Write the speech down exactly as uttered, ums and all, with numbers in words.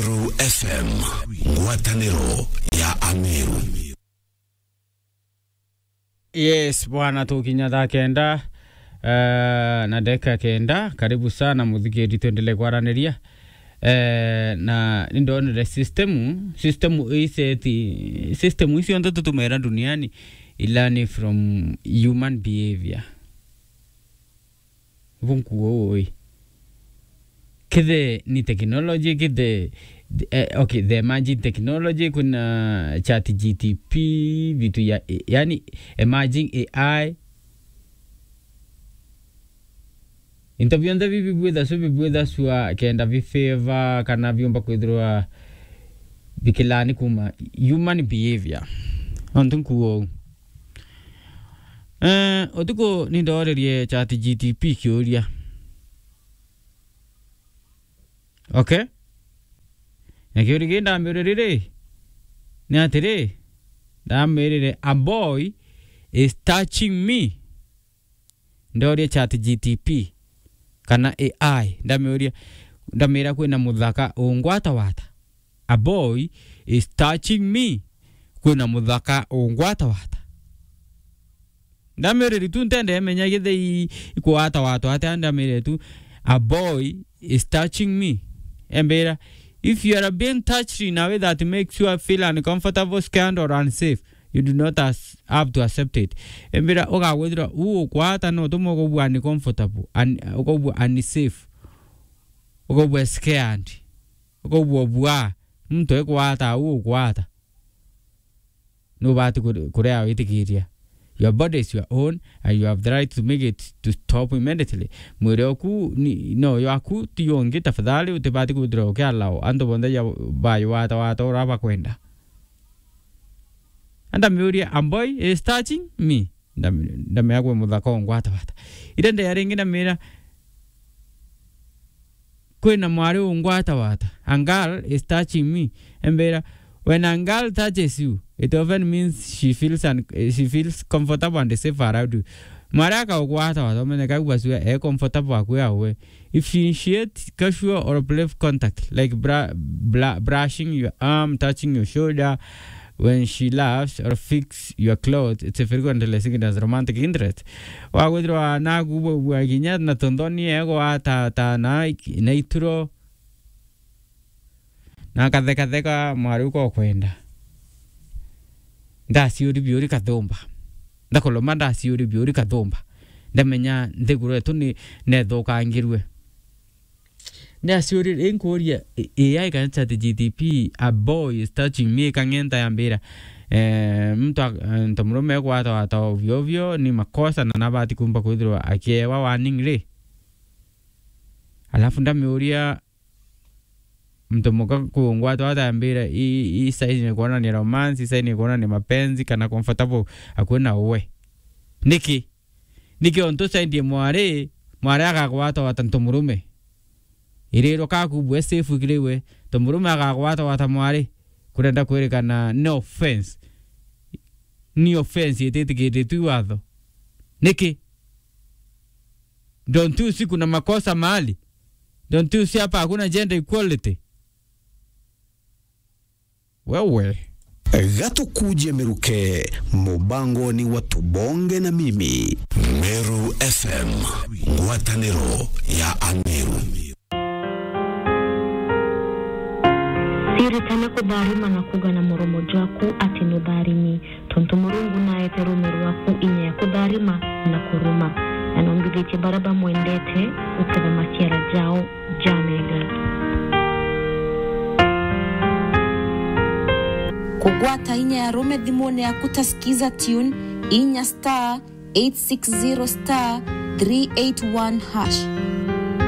Meru F M, ngwataniro ya Ameru. Yes, bwana, tukinya thaa kenda, eh, na dakika kenda. Karibu sana, muthikiri, tuendelee kwaraniria. Eh, na nindonere system, system iseti, system icio nthe tutumira duniani, i learn from human behavior. Bunkuo ui. Kithe ni technology, kithe, eh, okay, the emerging technology, kuna chat G T P, vitu ya, yani, emerging A I. Into bionthe bibi bwitha su, bibwitha sua kenda bi favor kana biumba kwithirwa bikilani kuma human behavior. Nontu nkuo uu. Eh, utuku nindorerie chat G T P kiuria. Okay? Na kiuria kii ndamirire riri, ni atiri, ndamirire, "A boy is touching me." Ndoria chat G T P kana A I, ndamiuria, ndamira, "Kwina muthaka ungwatawata?" "A boy is touching me." Kwina muthaka ungwatawata? Ndamiriri tu, ntende emenya githei ikwatawatwa atia, ndamirire tu, "A boy is touching me." Embira, "If you are being touched in a way that makes you feel uncomfortable, scared or unsafe, you do not as-, have to accept it." Embira, ugagwithirwa u ukwata no tumo ukobua uncomfortable, un-, ukobua unsafe, ukobua scared, ukobua bua, muntu ekwata u ukwata. Nubati kure-, kurea witikiria. Your body is your own and you have the right to make it to stop immediately. Mwiri oku ni, no yaku, ti yongi, tafadhali utibati kwithirwa ukiallow antu bonthe ya bayo wata wata ura bakwenda. Ndamiuria, "A boy is touching me?" Ndam-, ndamea kwi muthaka ungwata wata. Ira ndeya ringi ndamira, "Kwina mwari ungwata wata? A girl is touching me." Embira, "When a girl touches you, it often means she feels un-, she feels comfortable and safe around you." Mwari akaugwata wata, umenye kau basua e comfortable akwi awe. If she initiates casual or brief contact, like bra-, bla-, brushing your arm, touching your shoulder, when she laughs or fix your clothes, it's a frequently signals romantic interest. Wagwithirwa naku bwa kinya na tunthoni ego ata, ata na, na ituro. Na kathekatheka mwari uko kwenda. Ndaciuri biuri kathumba. Ndakoloma ndaciuri biuri kathumba. Ndamenya nthiguru yetu ni nethukangirwe. Ni aciuri, inkuria, A I kana chat G T P, "A boy is touching me," ikang'enta yambira, eh, muntu a-, eh, muntu murume ekwata wata ovyo ovyo, ni makosa na nabati kumba kwithirwa akiewa warning ri? Alafu ndamiuria, muntu muka kungwata wata yambira, i, i sign ni kuonania romance, i sign ni kuonania mapenzi, kana comfortable akui na uwe. Niki? Niki ontu usaidie mwari, mwari agagwata wata ntu murume? Iriro kaku bwe safe kiri we, ntu murume agagwata wata mwari? Kurenda kwirikana ni offense. Ni offense ititikiritwe i watho. Niki? Don't you see kuna makosa mahali? Don't you see hapa hakuna gender equality? Wewe. Gatukuje miruke, mubangoni wa Tubonge na Mimi. Meru F M, ngwataniro ya Ameru. Ciritane kutharima na kuuga na muromo jwaku ati nutharimi, tontu Murungu naete ruume rwaku inya ya kutharima na kuruma, na nombithitie baria bamwendete guketha maciara jao. Jamega. Kugwata inya ya rume thimune yaku ta Skiza Tune, inya star eight six zero star three eight one hash.